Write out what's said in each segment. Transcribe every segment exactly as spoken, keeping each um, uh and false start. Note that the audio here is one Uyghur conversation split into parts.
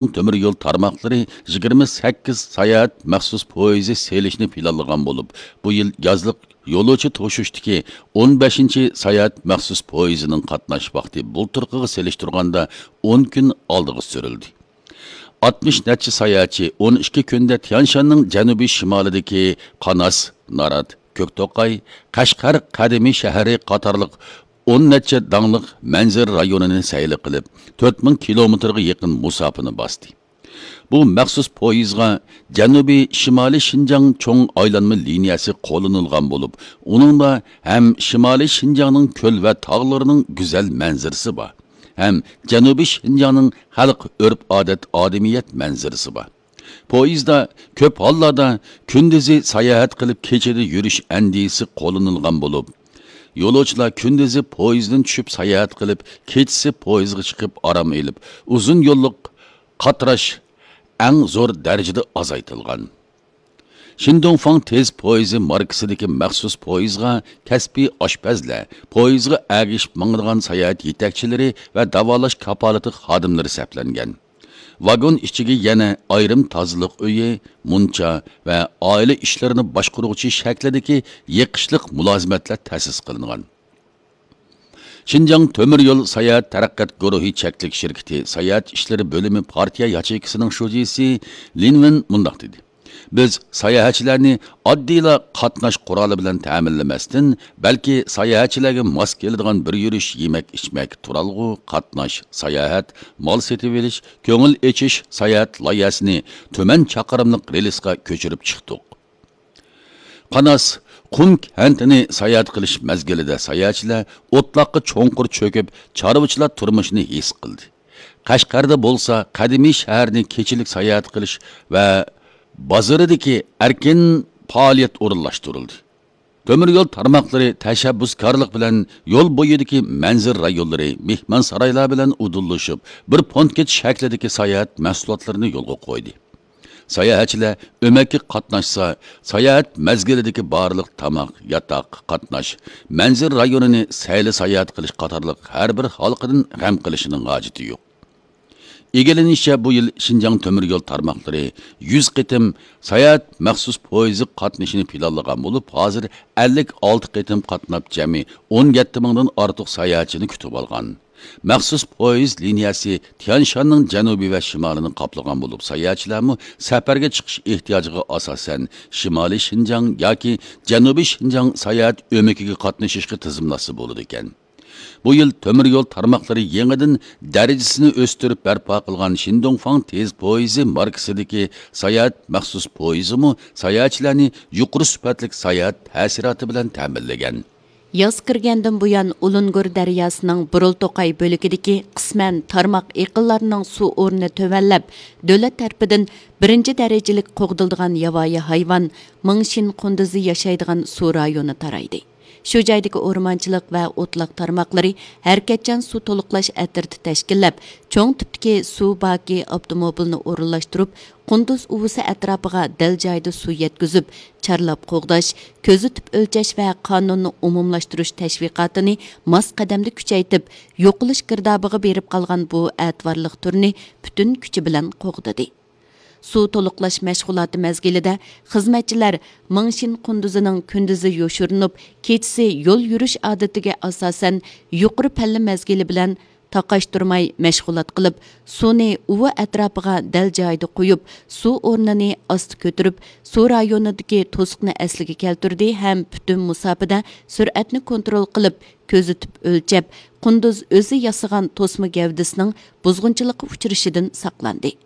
تۆمۈر يول تارماقلىرى يىگىرمە سەككىز ساياھەت مەخسۇس پويىزى سېلىشنى پىلانلىغان بولۇپ، بۇ يىل يازلىق يولۇچى توشۇشتىكى ئون بەشىنچى ساياھەت مەخسۇس پويىزىنىڭ قاتناش ۋاقتى بۇلتۇرقىغا سېلىشتۇرغاندا ئون كۈن ئالدىغا سۈرۈلدى. ئاتمىش نەچچە ساياھەتچى ئون ئىككى كۈندە تيانشاننىڭ جەنۇبىي شىمالىدىكى قاناس، نارات، كۆكتوقاي، قەشقەر قەدىمىي شەھىرى قاتارلىق ئون نەچچە داڭلىق مەنزىرە رايونىنى سەيلە قىلىپ، تۆت مىڭ كىلومېتىرغا يېقىن مۇساپىنى باستى. بۇ مەخسۇس پويىزغا جەنۇبىي شىمالىي شىنجاڭ چوڭ ئايلانما لىنىيەسى قوللىنىلغان بولۇپ، ئۇنىڭدا ھەم شىمالىي شىنجاڭنىڭ كۆل ۋە تاغلىرىنىڭ گۈزەل مەنزىرىسى بار، ھەم جەنۇبىي شىنجاڭنىڭ خەلق ئۆرپ-ئادەت، ئادىمىيەت مەنزىرىسى بار. پويىزدا كۆپ ھاللاردا كۈندۈزى ساياھەت قىلىپ، كېچىدە يۈرۈش ئەندىزىسى قوللىنىلغان بولۇپ، يولۇچىلار كۈندۈزى پويىزدىن چۈشۈپ ساياھەت قىلىپ، كېچىسى پويىزغا چىقىپ ئارام ئېلىپ، ئۇزۇن يوللۇق قاتراش ئەڭ زور دەرىجىدە ئازايتىلغان. شىندۇڭفاڭ تېز پويىزى ماركىسىدىكى مەخسۇس پويىزغا كەسپىي ئاشپەزلەر، پويىزغا ئەگىشىپ ماڭىدىغان ساياھەت يېتەكچىلىرى ۋە داۋالاش كاپالىتى خادىملىرى سەپلەنگەن. ۋاگون ئىچىگە يەنە ئايرىم تازىلىق ئۆيى، مۇنچا ۋە ئائىلە ئىشلىرىنى باشقۇرغۇچى شەكلىدىكى يېقىشلىق مۇلازىمەتلەر تەسىس قىلىنغان. شىنجاڭ تۆمۈر يول ساياھەت تەرەققىيات گۇرۇھى چەكلىك شىركىتى ساياھەت ئىشلىرى بۆلۈمى پارتىيە ياچېيكىسىنىڭ شۇجىسى لىن ۋېن مۇنداق دېدى: «بىز ساياھەتچىلەرنى ئاددىيلا قاتناش قورالى بىلەن تەمىنلىمەستىن، بەلكى ساياھەتچىلەرگە ماس كېلىدىغان بىر يۈرۈش يېمەك-ئىچمەك، تۇرالغۇ، قاتناش، ساياھەت، مال سېتىۋېلىش، كۆڭۈل ئېچىش ساياھەت لايىھەسىنى تۈمەن چاقىرىملىق رېلىسقا كۆچۈرۈپ چىقتۇق.» قاناس قۇم كەنتىنى ساياھەت قىلىش مەزگىلىدە ساياھەتچىلەر ئوتلاققا چوڭقۇر چۆكۈپ، چارۋىچىلار تۇرمۇشىنى ھېس قىلدى. قەشقەردە بولسا قەدىمىي شەھەرنى كېچىلىك ساياھەت قىلىش ۋە بازىرىدىكى ئەركىن پائالىيەت ئورۇنلاشتۇرۇلدى. تۆمۈر يول تارماقلىرى تەشەببۇسكارلىق بىلەن يول بويىدىكى مەنزىرە رايونلىرى، مېھمانسارايلار بىلەن ئۇدۇللىشىپ، بىر پونكىت شەكلىدىكى ساياھەت مەھسۇلاتلىرىنى يولغا قويدى. ساياھەتچىلەر ئۆمەككە قاتناشسا، ساياھەت مەزگىلىدىكى بارلىق تاماق، ياتاق، قاتناش، مەنزىرە رايونىنى سەيلە ساياھەت قىلىش قاتارلىق ھەر بىر ھالقىدىن غەم قىلىشنىڭ ھاجىتى يوق. ئىگىلىنىشىچە، بۇ يىل شىنجاڭ تۆمۈر يول تارماقلىرى يۈز قېتىم ساياھەت مەخسۇس پويىزى قاتنىشىنى پىلانلىغان بولۇپ، ھازىر ئەللىك ئالتە قېتىم قاتناپ، جەمئىي ئون يەتتە مىڭدىن ئارتۇق ساياھەتچىنى كۈتۈۋالغان. مەخسۇس پويىز لىنىيەسى تيانشاننىڭ جەنۇبى ۋە شىمالىنى قاپلىغان بولۇپ، ساياھەتچىلەرمۇ سەپەرگە چىقىش ئېھتىياجىغا ئاساسەن شىمالىي شىنجاڭ ياكى جەنۇبىي شىنجاڭ ساياھەت ئۆمىكىگە قاتنىشىشقا تىزىملاتسا بولىدىكەن. بۇ يىل تۆمۈر يول تارماقلىرى يېڭىدىن دەرىجىسىنى ئۆستۈرۈپ بەرپا قىلغان شىندۇڭفاڭ تېز پويىزى ماركىسىدىكى ساياھەت مەخسۇس پويىزىمۇ ساياھەتچىلەرنى يۇقىرى سۈپەتلىك ساياھەت تەسىراتى بىلەن تەمىنلىگەن. ياز كىرگەندىن بۇيان، ئۇلۇنگۇر دەرياسىنىڭ بۇرۇلتوقاي بۆلىكىدىكى قىسمەن تارماق ئېقىنلارنىڭ سۇ ئورنى تۆۋەنلەپ، دۆلەت تەرىپىدىن بىرىنچى دەرىجىلىك قوغدىلىدىغان ياۋايى ھايۋان مىڭشىن قۇندۇزى ياشايدىغان سۇ رايونى تارايدى. شۇ جايدىكى ئورمانچىلىق ۋە ئوتلاق تارماقلىرى ھەرىكەتچان سۇ تولۇقلاش ئەترىتى تەشكىللەپ، چوڭ تىپتىكى سۇ باكى ئاپتوموبىلىنى ئورۇنلاشتۇرۇپ، قۇندۇز ئۇۋىسى ئەتراپىغا دەل جايىدا سۇ يەتكۈزۈپ، چارلاپ قوغداش، كۆزىتىپ ئۆلچەش ۋە قانۇننى ئومۇملاشتۇرۇش تەشۋىقاتىنى ماس قەدەمدە كۈچەيتىپ، يوقىلىش گىردابىغا بېرىپ قالغان بۇ ئەتىۋارلىق تۈرنى پۈتۈن كۈچى بىلەن قوغدىدى. سۇ تولۇقلاش مەشغۇلاتى مەزگىلىدە خىزمەتچىلەر مىڭشىن قۇندۇزىنىڭ كۈندۈزى يوشۇرۇنۇپ، كېچىسى يول يۈرۈش ئادىتىگە ئاساسەن، يۇقىرى پەللە مەزگىلى بىلەن تاقاشتۇرماي مەشغۇلات قىلىپ، سۇنى ئۇۋا ئەتراپىغا دەل جايىدا قويۇپ، سۇ ئورنىنى ئاستا كۆتۈرۈپ، سۇ رايونىدىكى توسۇقنى ئەسلىگە كەلتۈردى ھەم پۈتۈن مۇساپىدە سۈرئەتنى كونترول قىلىپ، كۆزىتىپ ئۆلچەپ، قۇندۇز ئۆزى ياسىغان توسما گەۋدىسىنىڭ بۇزغۇنچىلىققا ئۇچرىشىدىن ساقلاندى.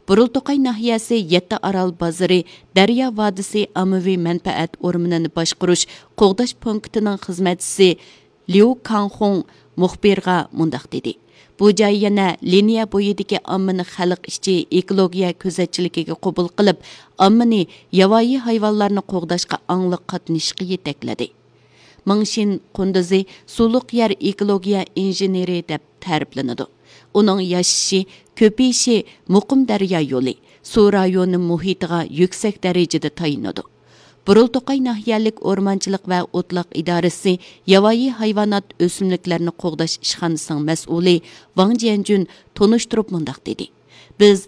بۇرۇلتوقاي ناھىيەسى يەتتە ئارال بازىرى دەريا ۋادىسى ئاممىۋى مەنپەئەت ئورمىنىنى باشقۇرۇش قوغداش پونكىتىنىڭ خىزمەتچىسى ليۇ كاڭخۇڭ مۇخبىرغا مۇنداق دېدى: «بۇ جاي يەنە لىنىيە بويىدىكى ئاممىنى خەلق ئىچى ئېكولوگىيە كۆزەتچىلىكىگە قوبۇل قىلىپ، ئاممىنى ياۋايى ھايۋانلارنى قوغداشقا ئاڭلىق قاتنىشىشقا يېتەكلىدى.» مىڭشىن قۇندۇزى سۇلۇق يەر ئېكولوگىيە ئىنژېنېرى دەپ تەرىپلىنىدۇ. ئۇنىڭ ياشىشى، كۆپىيىشى مۇقىم دەريا يولى، سۇ رايونى مۇھىتىغا يۈكسەك دەرىجىدە تايىنىدۇ. بۇرۇلتوقاي ناھىيەلىك ئورمانچىلىق ۋە ئوتلاق ئىدارىسى ياۋايى ھايۋانات، ئۆسۈملۈكلەرنى قوغداش ئىشخانىسىنىڭ مەسئۇلى ۋاڭ جيەنجۈن تونۇشتۇرۇپ مۇنداق دېدى: بىز